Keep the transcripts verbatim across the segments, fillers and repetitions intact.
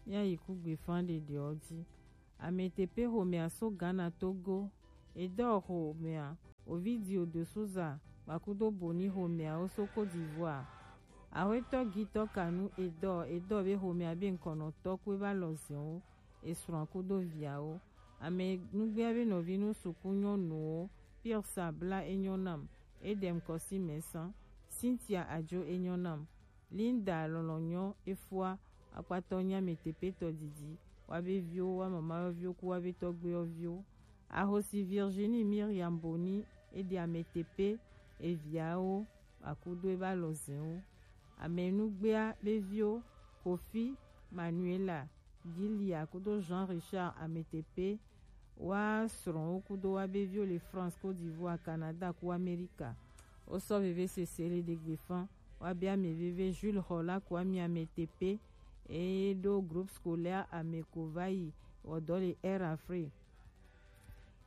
Míayi kugbefa ɖeɖewo ji. Ametepe xomɛa so Ghana Togo. Edɔ xomɛa Ovidio de Souza kpakudo Boni xomɛawo so Côte d'Ivoire. Axwetɔ Gitɔ Kanu Edɔ Edɔ be xomɛa be ŋkɔnɔtɔ kue va lɔ zɛnwo, esrɔ̃a kudo viawo. Ame nugbea be nɔvi nu suku nyɔnuwo, Pierre Sabla enyɔ nam, Edem Kɔsi Mɛsan, Cynthia Ajo enyɔ nam, Linda Lɔlɔnyɔ efua, akpatɔ nya Ametepe tɔ didi, wa be viwo, wa mama yɔviwo ku wa be tɔgbe yɔviwo. Ahosi Virginie Miriam Boni ede Ametepe eviawo akudo eba lɔ zɛnwo. Ame nugbea be viwo, Kofi, Manuela, Gilia kudo Jean Richard Ametepe, wa srɔ̃wo kudo wa be viwo le France, Côte d'Ivoire, Canada ku Amerika. Wo sɔ veve sese le ɖegbe fan. Wa be ame veve Jules Hola ku ami Ametepe, eye ɖo groupe scolaire Ameko va yi wɔ dɔ le Air Afrique.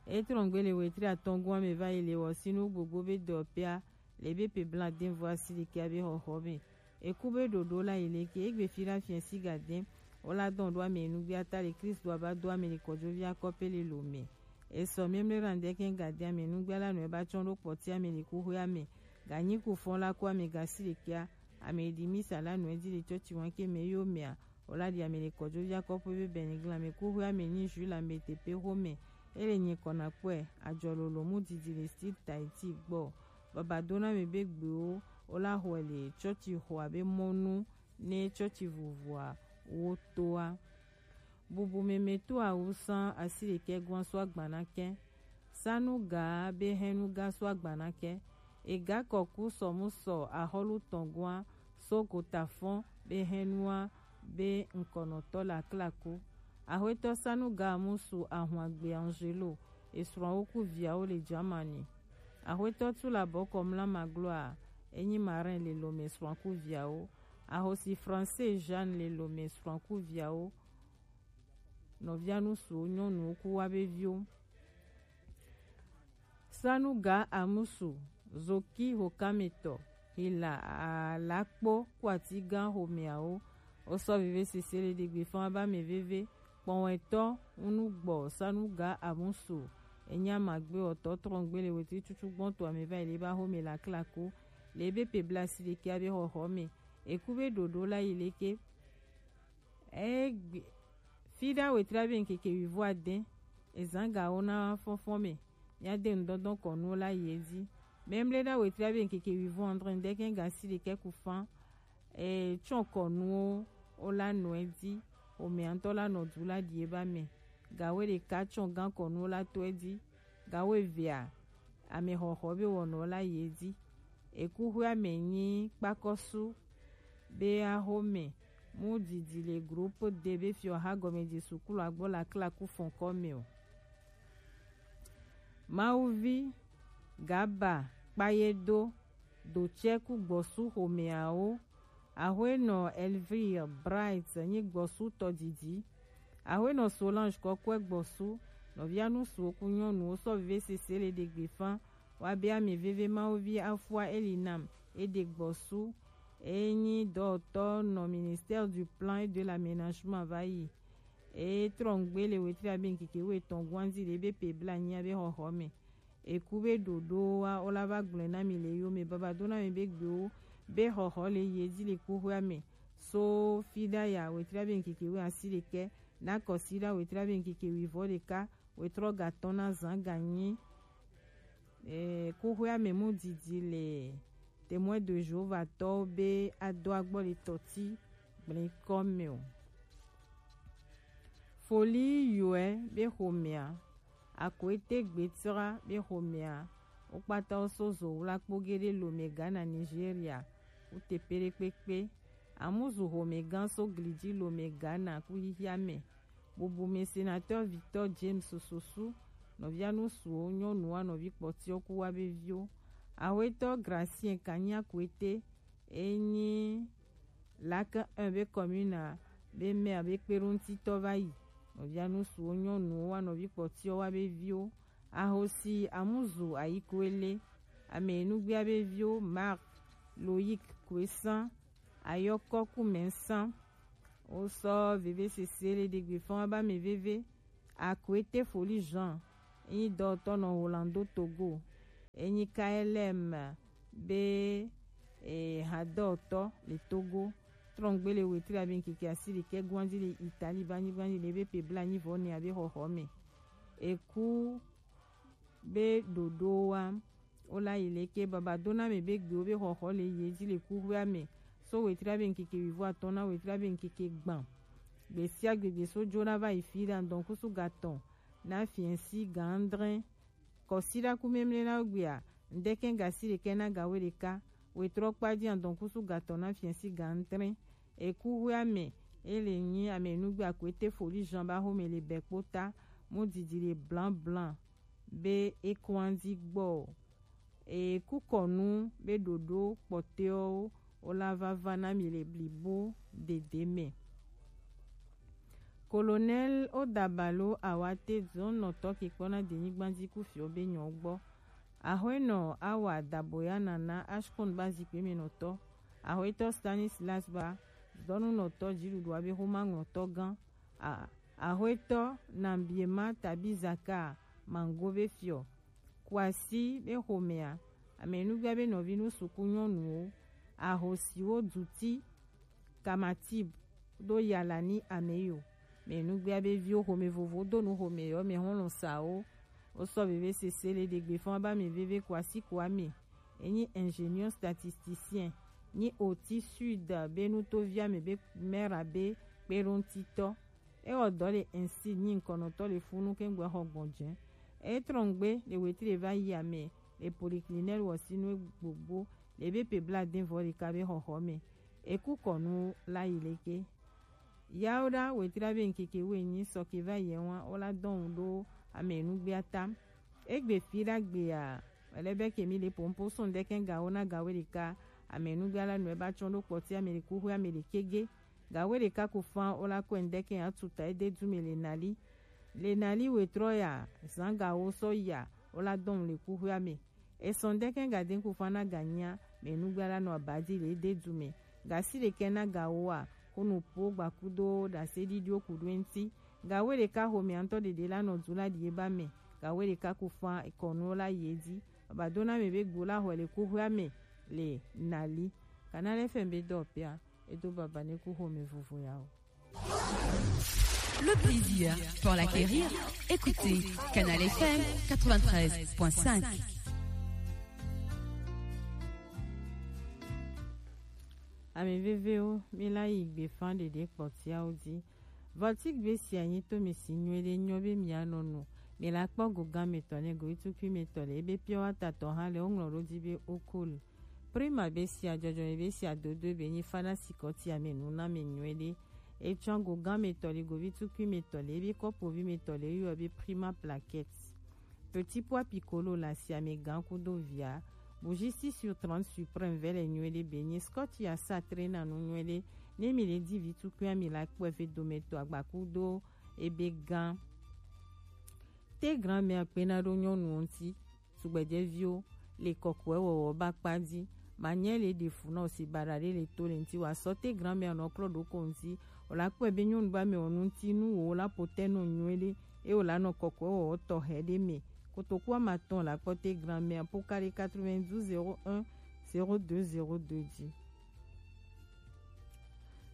Etrɔngbe le wetri atɔngua me va yi le wɔ sinu gbogbo be dɔpea le be pe bla den vo asi ɖekea be xɔxɔ me. Eku be ɖoɖo la yi leke egbe fi la fiɛ si ga den. Wo la dɔn ɖo ame nugbe ata le Kristo aba do ame le kɔjovi akɔpe le lo me. Esɔ miemle ra ndɛ kɛ ga den ame nugbe la nɔ eba tsɔn ɖo kpɔti ame le kuxwe ame. Ga nyi ku fɔn la ku ame ga si ɖekea. Ame ɖi misa la nɔ edi le tsɔtsi wan ke me yo mea. Wo la ɖi ame le kɔjovi akɔpe be bɛnigla me kuxwe ame nyi Jules Ametepe xome. Ele nyi kɔna kpɔe ajɔ lolo mu didi le Style Tahiti gbɔ. Baba dona mi be gbewo wo la xɔe le tsɔtsi xɔa be mɔnu ne tsɔtsi vuvua wo toa. Bubu meme to awusan asi ɖekɛ gɔn so agbana kɛ. Sanu ga be hɛnu ga so agbana kɛ. Ega kɔku sɔmu sɔ axɔlu tɔn gɔn so gota fɔn be hɛnua be ŋkɔnɔtɔ la klaku. Axwetɔ Sanu ga musu ahun agbe Angelo esrɔ̃wo ku viawo le Germany. Axwetɔ tu la bɔkɔ mla magloa enyi marin le lome srɔ̃ ku viawo. Ahosi français Jeanne le lome srɔ̃ ku viawo. Nɔvia nusuwo nyɔnuwo ku wa be viwo. Sanuga Amusu, Zoki Hokametɔ, Hila Alakpo ku ati gã xomeawo. Wo sɔ veve sese le ɖegbe fan ba me veve. Kpɔwɛtɔ ŋunugbɔ Sanuga Amusu. Enya magbe ɔtɔ trɔngbe le wetri tutu gbɔn to ame va yi le ba xome la klaku. Le be pe bla si ɖekea be xɔxɔ me. Eku be ɖoɖo la yi leke. Egbe fi ɖa wetri abe ŋkeke wivɔ ade ezan gawo na fɔnfɔn me. Míade ŋdɔndɔn kɔnuwo la yi edzi. Memle ɖa wetri abe ŋkeke wivɔ andre ŋdɛkɛ ga si ɖekɛ ku fan. E tsɔn kɔnuwo wo la nɔ edzi. Omeantɔ la nɔ du la ɖi eba me. Gawo ɖeka tsɔn gan kɔnuwo la to edzi. Gawo evea ame xɔxɔ be wɔnɔ la yi edzi. Ekuxɔe ame nyi kpakɔsu be axome mu didi le groupe de be fiɔ ha gɔme di sukulu agbɔ la klaku fɔnkɔ me o. Mawuvi gaba kpayedo dotsɛ ku gbɔsu xomeawo. Axwenɔ Elvire Bright nyi gbɔsu tɔ didi. Axwenɔ Solange kɔkɔe gbɔsu. Nɔvia nusuwo ku nyɔnuwo sɔ veve sese le ɖegbe fan. Wa be ame veve Mawuvi afua eli nam eɖe gbɔsu. Enyi dɔwɔtɔ nɔ ministère du plan et de l'aménagement va yi. E trɔngbe le wetri abe ŋkeke wo etɔn guanzi le be pe bla nyi abe xɔxɔ me. Eku be ɖoɖo wa wo la va gblɔe na mi le yo me baba do na mi be gbewo be xɔxɔ le yi edzi le kuxɔa me. So fi ɖa ya wetri abe ŋkeke wo asi ɖekɛ na kɔsi ɖa wetri abe ŋkeke wivɔ ɖeka wetrɔ gatɔn na zan ganyi. E, kuxɔa me mu didi le Témoin de Jéhovah tɔwo be ado agbɔ le tɔti gblẽ kɔ me o. Foli yɔe be xomea, Akoete Gbetra be xomea, wo kpata wo so zo wla kpo geɖe lome Ghana, Nigeria, wo teƒe ɖe kpekpe. Amuzu xomegã so glidzi lome Ghana ku xixia me. Bubu me sénateur Victor James Sosu, nɔvia nusuwo, nyɔnuwa nɔvi kpɔtiwo ku wa be viwo. Axwetɔ Gracien Kanya Kuete, enyi Lac un be commune a be maire be kpeɖoŋutitɔ va yi. Nɔvia nusuwo, nyɔnuwo wa nɔvi kpɔtiwo wa be viwo. Ahosi Amuzu Ayikuele, ame nugbea be viwo Marc, Loïc Kuesan, Ayɔkɔ Kumɛsan, Wo sɔ veve sese le ɖegbe fɔn ba mi veve. Akwete Foli Jean, enyi dɔwɔtɔ nɔ Rolando Togo, enyi K L M be e, hadɔwɔtɔ le Togo. Trɔngbe le wetri abe nkeke asi ɖekɛ gwanji le Italie ba nyi gwanji le be pe bla nyi vɔ ne abe xɔxɔ me. Eku be ɖoɖo wa wo la yi leke baba do na me be gbewo be xɔxɔ le ye ji le kuxoea me. So wetri abe nkeke wivo atɔn na wetri abe nkeke gban. Gbe sia gbe gbe so jo na va yi fi ɖa ŋdɔn kusu gatɔn na fiɛnsi gan adre. Kɔsiɖa ku memle na gbea, ŋdɛkɛ gasi ɖekɛ na gawe ɖeka, wetrɔ kpa ji adɔn kusu gatɔn na fiɛnsi gan adre. Eku hwe ame, ele nyi ame nugbe akwete Foli Jean ba xome le bɛ kpota, mu didi le blan blan be e kɔn anzi gbɔ. E ku kɔnu be ɖoɖo kpɔtɔewo wo la va va na mi le blibo dede me. Colonel Odabalo Awate zɔnnɔtɔ ke kpɔna denyigba ji ku fiɔ be nyɔ gbɔ. Ahwenɔ Awa Daboya Nana Ashkon ba zikpe me nɔtɔ. Ahwetɔ Stanislas ba dɔnunɔtɔ jiɖuɖu abe xoma ŋlɔtɔ gan. A-, Ahwetɔ Nambiema Tabizaka Mango be fiɔ. Kuasi be xomea, ame nugbea be nɔvi nu suku nyɔnuwo, ahosiwo duti, kamatib, do yalani ameyo. Me nugbea be viwo xome vovo do nu xome yɔ me hɔn lɔn sawo. Wo sɔ veve sese le ɖegbe fɔn ba me veve kuasi kuame. Enyi ingénieur statisticien, nyi oti sud be nutovia me be mera be kpeɖoŋtitɔ. Ewɔ dɔ le insi nyi ŋkɔnɔtɔ le funu kɛŋgbɛ xɔ gbɔn jɛ. Etrɔngbe le wetri va yi ame le poliklinɛl wɔsinu gbogbo le be pe bla den vɔ ɖeka be xɔxɔ me. Eku kɔnu la yi leke. Yawo ɖa wetri be ŋkeke wo enyi sɔke va yi wa wo la dɔn ɖo ame nugbea tam. Egbe fi ɖa gbea, ele be kemi le pompo sɔn ɖe kɛn gawo na gawo ɖeka. Ame nugbea la nɔ eba tsɔn ɖo kpɔti ame le kuxu ame le kege. Gawe ɖeka ku fan wo la kɔe ŋdɛkɛ atuta ede du me le nali. Le nali wetrɔ ya, zan gawo sɔ ya, wo la dɔn le kuxua me. Esɔn ŋdɛkɛ gade ku fan na ganyia, me nugba la nɔ abadi le ede du me. Gasi ɖekɛ na gawo a, ko nu po gbakudo ɖase ɖiɖiwo ku ɖo eŋti. Gawe ɖeka xo me ŋtɔ ɖeɖe la nɔ du la ɖi eba me. Gawe ɖeka ku fan ekɔnu la yi edi. Baba do na me be gbo la xɔ le kuxua me le nali. Canal F M be dɔ pia. Edo baba ne ku xome vovo ya o. Le plaisir pour l'acquérir, écoutez Canal F M quatre-vingt-treize point cinq. Ame vevewo, mi la yi gbe fan ɖeɖe kpɔtiawo di. Vɔti gbe sia nyi to mi si nyuie ɖe nyɔ be mi anɔ nu. Mi la kpɔ go gan me tɔ ne go itukui me tɔ le ebe pure water tɔ hã le wo ŋlɔ ɖo di be okol. Prima be sia jɔjɔ be sia dodo be nyi fana sikɔti ame nu na me nyuie ɖe. Etsɔ go gan me tɔ le go vi tukui me tɔ le ebe kɔpo vi me tɔ le yɔ be prima plaquette. Petit pois piccolo la si ame gan kudo via. Bougie six sur trente suprême vɛ le nyuie ɖe be nyi scotch ya sa tre na nu nyuie ɖe. Ne mi le di vi tukui ami la kpɔ efe dome to agba kudo ebe gan. Te grand-mère kpena ɖo nyɔnuwo ŋti. Tugbedzɛviwo le kɔkɔe wɔwɔ ba kpa di. Manyɛ le ɖe fu na o si baɖa ɖe le to le ŋti wa sɔ te grand-mère nɔ klɔ ɖo ko ŋti. O la kpɔe be nyɔnu ba me wɔ nu ŋti nu wo la po te nɔ nyuie ɖe. E o la nɔ kɔkɔe wɔwɔ tɔxɛ ɖe me. Kotoku ama tɔn la kpɔ te grand-mère po ka ɖe quatre-vingt-douze zéro un zéro deux zéro deux di.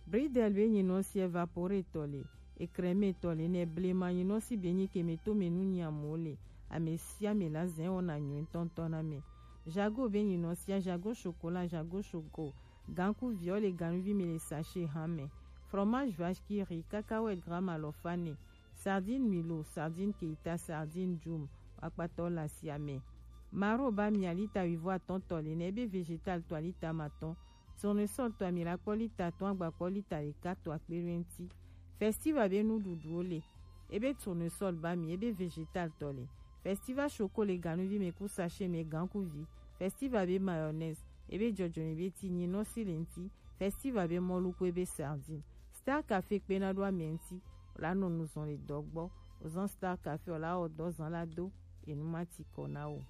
Bridel be nyinɔ si evapore tɔ le, ekrɛme tɔ le nɛ blema nyinɔ si be nyi keme to me nu nyi amewo le, ame sia ame la zɛn wɔna nyuie ŋtɔŋtɔ na me. Jago be nyinɔ sia jago chocolat, jago choco, ganku viɔ le ganuvi me le sachet hã me. Fromage vache qui rit, cacahuète gramme alɔfa ne, sardine Milo, sardine Keita, sardine Djoum, akpatɔ la sia me. Maro ba mia lita wivo atɔn tɔ le nɛ be végétal tɔ lita ma tɔn. Tournesol tɔ ami la kpɔ lita atɔn agba kpɔ lita ɖeka tɔ akpe ɖo eŋti. Festival be nuɖuɖuwo le. Ebe tournesol ba mi ebe végétal tɔ le. Festival choco le ganuvi me ku sachet me gankuvi. Festival be mayonnaise ebe jɔjɔme be ti nyinɔ si le ŋti. Festival be mɔlu ku ebe sardine. Star Café kpena ɖo ame ŋti. O la nɔ nu zɔn le dɔ gbɔ. O zan Star Café o la wɔ dɔ zan la do. Enu ma ti kɔ na o.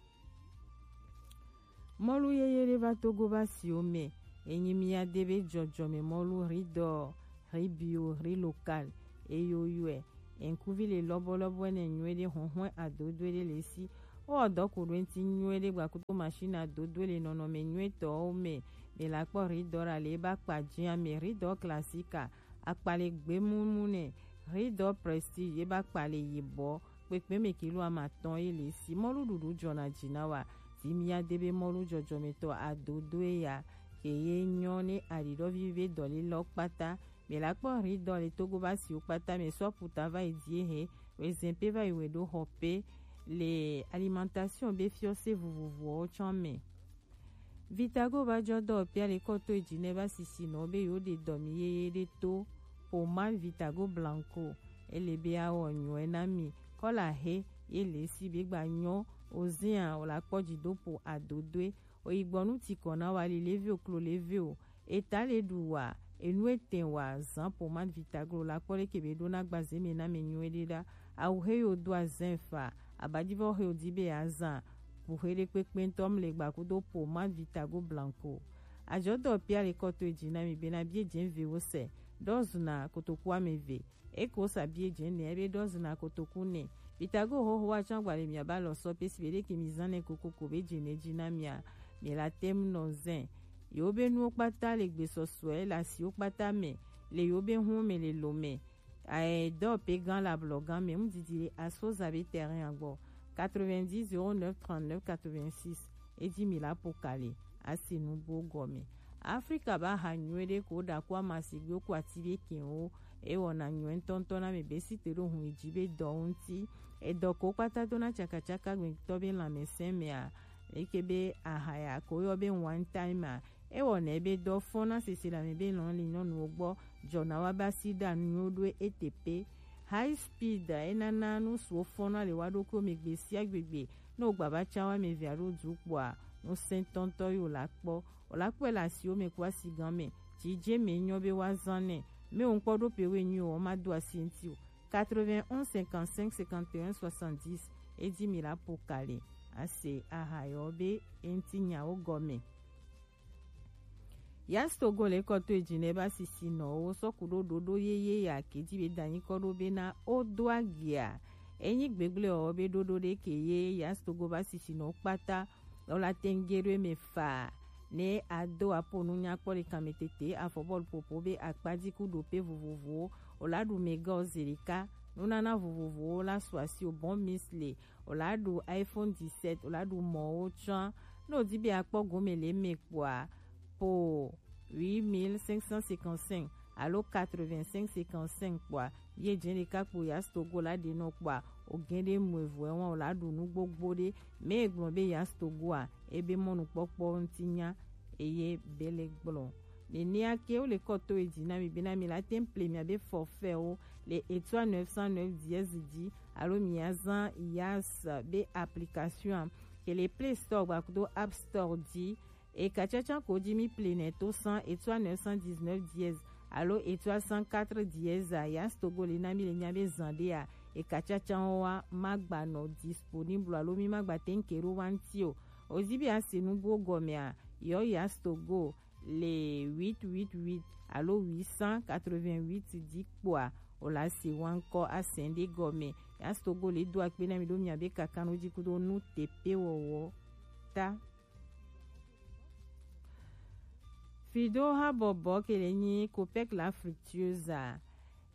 Mɔlu yeye ɖe va Togo ba siwo me. Enyi mia de be jɔjɔme mɔlu ridɔ. riz bio, riz local, eyoyoe. Ŋkuvi le lɔbɔlɔbɔ enɛ nyuiɖe, hɔnhɔn adodoe ɖe le si. Wowɔ dɔ ku ɖo eŋti nyuiɖe gbakudo machine adodoe le nɔnɔme nyuitɔwo me. Mi la kpɔ riz dɔ ɖa le eba kpa jia me, riz dɔ classique a, akpa le gbemumu nɛ, riz dɔ prestige eba kpa le yibɔ, kpekpe me kilo amatɔn ye le si. Mɔlu ɖuɖu jɔna ji na wa. Ti mi ya de be mɔlu jɔjɔmetɔ adodoe ya ke ye nyɔ ne aɖiɖɔ vivi be dɔ le lɔ kpata. Mi la kpɔ riz dɔ le Togo ba siwo kpata me sɔ puta va yi die he, wezɛn pe va yi we ɖo xɔ pe le alimentation be fiɔse vovovowo tsɔ me. Vitago ba jɔ dɔ pia le kɔ to eji nɛ ba sisi nɔ be yo de dɔ mi yeye de to pomade Vitago blanco. Ele be awɔ nyuɛ na mi. Kɔla he ye le si be gba nyɔ ozia o la kpɔ ji do po adodoe. Oyigbɔnu ti kɔ na wa li leve o klo leve o. Eta le ɖu wa, enu etɛn wa, zan pomade Vitago la kpɔ leke be ɖo na gbaze me na mi nyuiɖe ɖa. Awu he yo do azan fa, abadivɔ he yo di be azan, bu he ɖe kpekpe ŋutɔ mle gba kudo pomade Vitago blanco. Ajɔ dɔ pia le kɔ to eji na mi be na bie jɛn ve wo se, dɔ zuna kotoku ame ve. Eko sa bie jɛn nɛ be dɔ zuna kotoku nɛ. Vitago hoho wa tsɔ agba le mia ba lɔ sɔ pe si be ɖe ke mi zan nɛ kokoko be jɛn nɛ ji na mia, mi la tem nɔ zɛn. Yo be nuwo kpata le gbesɔsɔɛ le asiwo kpata me, le yo be hun me le lo me. Ae dɔ pe gan la blɔ gan me mu didi le asoza be terrain agbɔ. Quatre-vingt-dix zéro neuf trente-neuf quatre-vingt-six. Eji mi la po kale. Asi nugbo gɔme. Afrika ba ha nyuiɖe ko ɖa ko amasigbewo ko ati be kɛnwo. Ewɔna nyuiɖe ŋutɔŋutɔ na mi be si te ɖo hun yi ji be dɔ ŋuti. Edɔ ko kpata do na tsakatsaka gbetɔ be lãmesẽ mea. Eke be aha ya ko yɔ be one time a. Ewɔna be dɔ fɔn na sese le ame be lɔn li nyɔnuwo gbɔ. Jɔna wa ba si ɖa nuwo ɖo ete pe. High speed enana nu suwo fɔn na le wa ɖokuiwo me gbe sia gbegbe. Ne wogba va tsa wa me via ɖo du kpɔa, nu sɛntɔntɔ yo la kpɔ. O la kpɔe le asiwo me ku asi gan me. Dzi dze me nyɔ be wa zan nɛ. Me wo ŋkpɔ ɖo pe we nyui o, ma do asi ŋti o. Quatre-vingt-onze cinquante-cinq cinquante et un soixante-dix. Edi mi la po kale. Ase aha yɔ be eŋti nyawo gɔme. Yas Togo le kɔ to eji nɛ ba sisi nɔ wo sɔ ku ɖo ɖoɖo yeye ya ke ji be danyi kɔ ɖo be na o do agia. Enyi gbegble o be ɖoɖo ɖe ke ye Yas Togo ba sisi nɔ kpata. Ola tengere me fa ne ado apo nu nyakpɔ ɖe kame tete afɔbɔlu popo be akpadzi ku ɖo pe vovovowo. Ola ɖu mega o zerika nunana vovovowo la su asi o bon misle. Ola ɖu iPhone dix-sept, ola ɖu mɔwo tsã. Ne odi be akpɔ gome le me kpɔa, po huit mille cinq cent cinquante-cinq alo quatre-vingt-cinq cinquante-cinq kpɔa, ye dze ɖeka kpo Yas Togo la ɖe nɔ kpɔa, o gɛn ɖe mu evo ewan ola ɖu nu gbogbo ɖe. Me gblɔ be Yas Togo a, ebe mɔnukpɔkpɔ ŋti nya, eye bele gblɔ. Nenea ke wo le kɔ to edzi na mi bena mi la te ŋu ple miabe forfait wo le étoile neuf cent neuf dièse dzi alo miazã Yas be application a ke le Play Store gbakudo App Store dzi. Eka tsatsa ko dzi mi ple nɛ to cent étoile neuf cent dix-neuf dièse alo étoile cent quatre dièse a Yas Togo le na mi le nya be zan ɖe a eka tsatsa wo wa ma gba nɔ disponible alo mi ma gba te ŋu ke ɖo wa ŋti o. O zi be a se nugbo gɔme a, yɔ Yas Togo le huit huit huit alo huit cent quatre-vingt-huit dzi kpɔa, o la se wa ŋkɔ a sɛn ɖe gɔme. Yas Togo le do akpe na mi ɖo miabe kakanu dzi kudo nu tepe wɔwɔ ta. Fido habɔbɔ ke le nyi Copec la fructueuse a.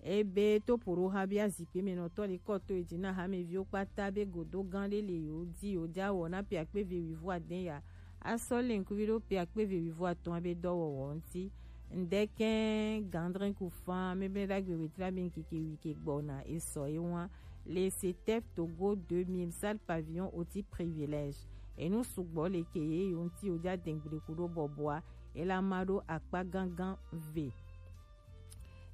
Ebe to poɖo ha be azikpe me nɔtɔ le kɔ to edzi na hameviwo kpata be godo gã ɖe le yewo di yewo dza wɔ na pe akpe ve wivo adɛn ya. Asɔ le ŋkuvi ɖo pe akpe ve wivo atɔ̃ be dɔwɔwɔ ŋti. Ŋdɛkɛ gandrin ku fan mebe ɖagbe wetra be ŋkeke wi ke gbɔna esɔ ye wa. Le CETEF Togo deux mille salle pavillon oti privilège. Enu sugbɔ le ke ye yo ŋti wo dza dengble ku ɖo bɔbɔa. Ela ma ɖo akpa gangan ve.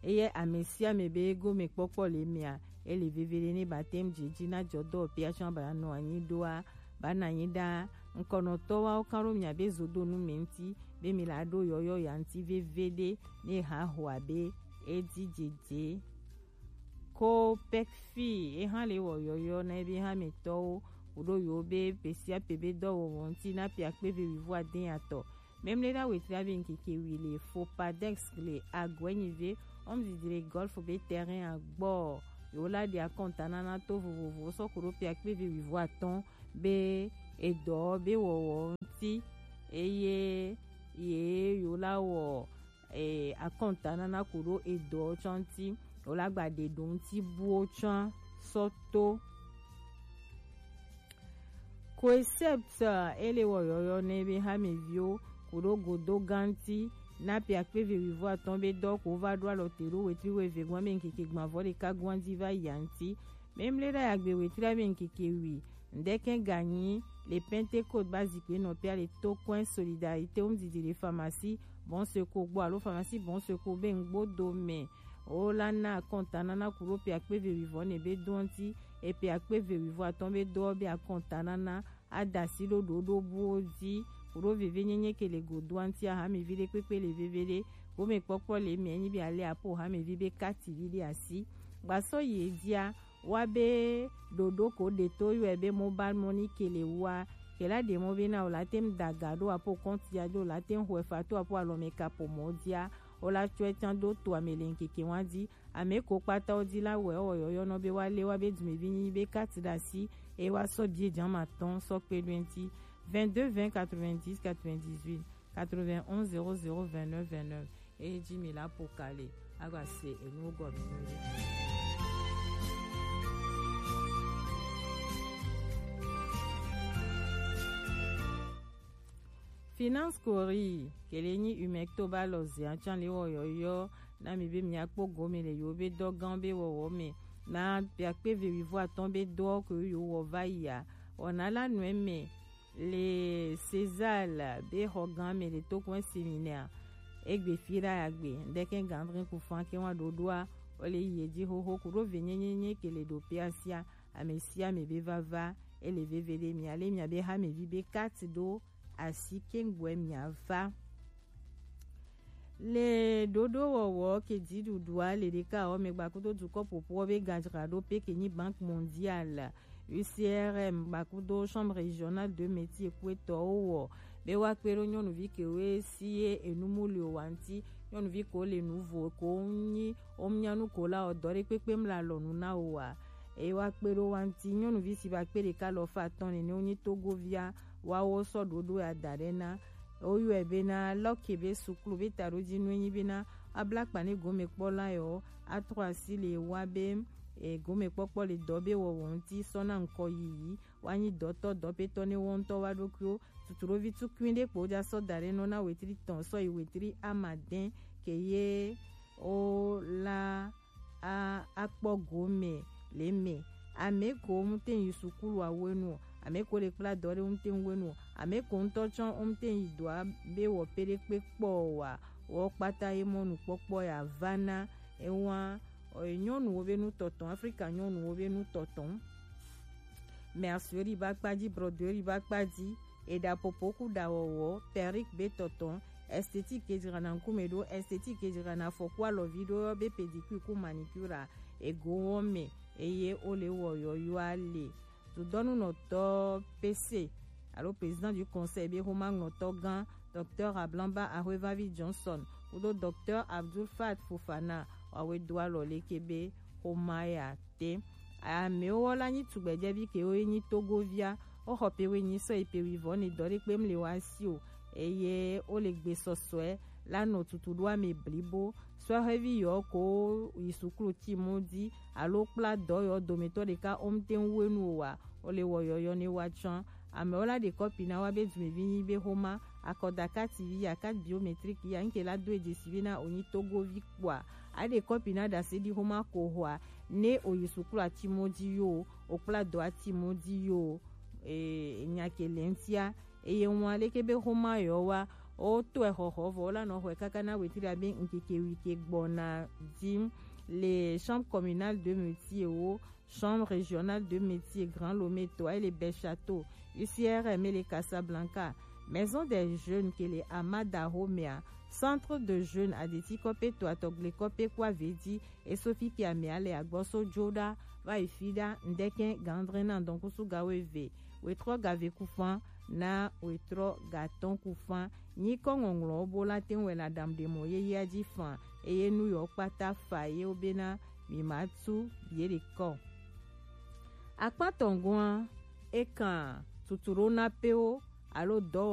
Eye ame sia ame be gome kpɔkpɔ le mea, ele veve ɖe ne ba tem dzi dzi na jɔ dɔ pe atsɔ ba nɔ anyi ɖoa, ba na anyi ɖa. Ŋkɔnɔtɔ wa wo kan ɖo mia be zodo nu mi ŋti be mi la ɖo yɔyɔ ya ŋti veve ɖe ne ha hoa be edzi dzedze. Ko pekfi eha le wɔ yɔyɔ na ebe ha me tɔwo wo ɖo yo be pe sia pe be dɔwɔwɔ ŋti na pe akpe ve wivo adɛn atɔ. Memle ɖa wetri abe ŋkeke wi le Fopadex le Agɔenyive Home didi le golf be terrain a gbɔ. Yewo la ɖe akɔntanana to vovovowo sɔ ku ɖo pe akpe eve wuivo atɔn be edɔ be wɔwɔ ŋuti, eye ye yewo la wɔ, e, akɔntanana ku ɖo edɔ tsɔ ŋuti. Yewo la gba ɖe ɖo ŋuti buwo tsɔ sɔ to. Coesept, e le wɔ yɔyɔ nɛ be hameviwo ku ɖo godo ganti na pe akpe eve wuivo atɔn be dɔ ko va ɖo alɔ te ɖo wetri wuieve gban be ŋkeke gbanvɔ ɖeka gban di va yi anti. Memle ɖa yagbe wetri be ŋkeke wi ŋdɛkɛ ganyi le Pentecôte ba zikpe nɔ pe ale to kɔn solidarité wo didi le pharmacie Bon Secours gbɔ alo pharmacie Bon Secours be ŋgbo do mɛ. Wo la na akɔntanana ku ɖo pe akpe eve wuivo nɛ be do anti. E pe akpe eve wuivo atɔn be do be akɔntanana a da asi ɖo ɖoɖo buwo di ku ɖo veve nyenye ke le godo anti. Aha mi vi ɖe kpekpe le veve ɖe gome kpɔkpɔ le mi enyi be ale apo ha mi vi be kati vi ɖe asi. Gbasɔ yi dia wa be ɖoɖo ko ɖe to yɔe be mobile money ke le wa ke la ɖe mɔ be na o la tem daga ɖo apo kɔnti ya ɖo la tem xɔe fa to apo alɔme kapo mɔ dia o la tsɔe tsan ɖo to ame le ŋkeke wa di. Ame ko kpata wo di la wɛ wɔ yɔyɔ nɔ be wa le wa be dumevi nyi be kati ɖe asi e wa sɔ bie jama tɔn sɔ kpe ɖo ŋti. Vingt-deux vingt quatre-vingt-dix quatre-vingt-dix-huit, quatre-vingt-onze zéro zéro vingt-neuf vingt-neuf. E ji mi la po kale agba se enu gɔ mi. Finance Kori kele nyi umekto ba lɔ ze atsan le wɔ yɔyɔ na mi be mi akpɔ gome le yo be dɔ gan be wɔwɔ me na pe akpe ve wivo atɔn be dɔ ke yo wɔ va yi a. Wɔna la nɔe me le César be xɔ gan me le to kɔn séminaire egbe fi ɖa ya gbe ŋdɛkɛ gandrin ku fan ke wa ɖoɖoa o le yi edzi xoxo ku ɖo ve nyenyenye ke le ɖo pe asia ame sia ame be vava e le veve ɖe mi ale mi abe ha me vi be kati ɖo asi kengboe mi ava. Le ɖoɖo wɔwɔ ke dziɖuɖua le ɖeka wɔ me gbakudo dukɔ ƒoƒoɔ be gadzraɖo pe ke nyi Banque Mondiale, U C R M gbakudo Chambre Régionale de Métiers ku etɔwo wɔ be woakpe ɖo nyɔnuvi kewo si ye enu mu le o wa ŋti. Nyɔnuvi ko le nu vo ko nyi o nya nu ko la o dɔ ɖe kpekpe mla lɔ nu na o wa. Eye woakpe ɖo wa ŋti nyɔnuvi si ba kpe ɖeka lɔ fa atɔn nene wonyi Togovia wawo sɔ ɖoɖo ya da ɖe na. Woyɔe bena lɔke be suklu be taɖodzi nue nyi bena abla kpa ne gomekpɔla yewo atrɔ asi le wa be e, gomekpɔkpɔ le dɔ be wɔwɔ ŋti sɔ na ŋkɔ yiyi wa nyi dɔtɔ dɔpetɔ ne wɔ ŋtɔ wa ɖokuiwo. Tutuɖovi tukui ɖe kpo ja sɔ da ɖe nɔ na wetri tɔn sɔ yi wetri amadɛn ke ye o la a akpɔ gome le me. Ame ko ŋutɛ yi sukulu awenu o, ame ko le kpla dɔ ɖe ŋutɛ wenu o, ame ko ŋutɔ tsɔ ŋutɛ yi dɔa be wɔ pe ɖe kpe kpɔ wa wɔ kpata ye mɔnu kpɔkpɔ ya va na ewa nyɔnuwo be nutɔtɔ, Afrika nyɔnuwo be nutɔtɔ. Mercerie ba kpadzi, broderie ba kpadzi, eɖa popo ku ɖa wɔwɔ, perruque be tɔtɔ, esthétique ke dzrana ŋkume ɖo, esthétique ke dzrana afɔ ku alɔvi ɖo yɔ be pédicure ku manicure a, ego wɔ me, eye wo le wɔ yɔyɔa le. Dudɔnunɔtɔ P C alo président du conseil be xomaŋlɔtɔ gã, Docteur Ablamba Ahwevavi Johnson kudo Docteur Abdul Fat Fofana wawe do alɔ leke be xoma ya te. Amewo la nyi tugbɛjɛvi kewo ye nyi Togovia. Woxɔ pe wenyi sɔ yi pe wivɔ ne dɔ ɖe kpem le wa si o. Eye wo le gbe sɔsɔe la nɔ tutu ɖo ame blibo. Sɔhɛvi yɔ ko yi suklu ti mo di alo kpla dɔ yɔ dometɔ ɖeka wo ŋte ŋu wenu o wa. Wo le wɔ yɔyɔ ne wa tsã. Amewo la ɖe kɔpi na wa be dumevi nyi be xoma akɔdaka T V ya, carte biométrique ya, nke la do edze si be na o nyi Togovi kpɔa, a ɖe kɔpi na ɖase ɖi xoma ko xɔa, ne o yi sukulu ati mo di yo, o kpla dɔ ati mo di yo, e, nya ke le ŋtia, eye ŋua leke be xoma yɔ wa, o to exɔxɔ vɔ, o la nɔ xɔe kaka na wetri abe ŋkeke wi ke gbɔna di le chambre communale de métier wo, Chambre régionale de métiers Grand Lomé to, ele Bel Château, U C R M ele Casablanca, Maison des jeunes kele Amada Homea, Centre de jeunes Adeti Kope to Atogble Kope kwa vedi, e Sophie Kiamea le agboso Joda, va ifi da, ndeke gandre na donkusu gawe ve, wetro gave kufan, na wetro gaton kufan, nyi ko ŋɔŋlɔ bo la ten wɛ la dam de mo ye ya ji fan, eye nu yewo kpata fa ye wo bena mi ma tu ye ɖe kɔ. Akpa tɔngɔa e kan tutu ɖo na pewo alo dɔ